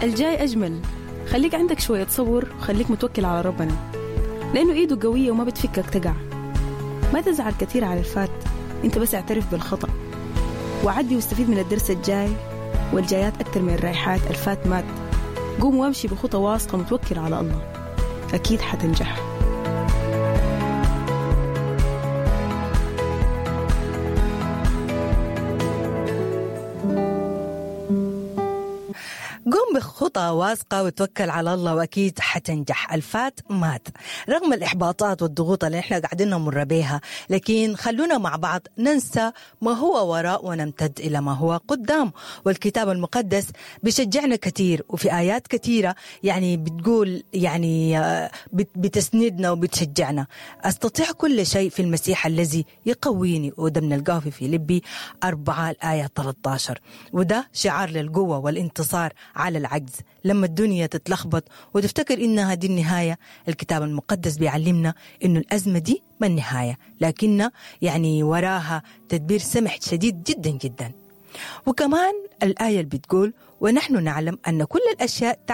الجاي أجمل. خليك عندك شوية صبر وخليك متوكل على ربنا، لأنه إيده قوية وما بتفكك تقع. ما تزعل كثير على الفات، أنت بس اعترف بالخطأ وعدي واستفيد من الدرس الجاي والجايات أكثر من الرايحات. الفات مات، قوم وامشي بخطى واثقة متوكل على الله، أكيد حتنجح. قم بخطى واثقة وتوكل على الله وأكيد حتنجح. الفات مات رغم الإحباطات والضغوط اللي احنا قاعدين نمر بيها، لكن خلونا مع بعض ننسى ما هو وراء ونمتد إلى ما هو قدام. والكتاب المقدس بيشجعنا كثير، وفي آيات كثيرة يعني بتقول يعني بتسندنا وبتشجعنا. أستطيع كل شيء في المسيح الذي يقويني، وده بنلقاه في فيليبي 4 الآية 13. وده شعار للقوة والانتصار على العجز. لما الدنيا تتلخبط وتفتكر إنها دي النهاية، الكتاب المقدس بيعلمنا إنه الأزمة دي ما النهاية، لكن يعني وراها تدبير سمح شديد جدا جدا. وكمان الآية اللي بتقول ونحن نعلم أن كل الأشياء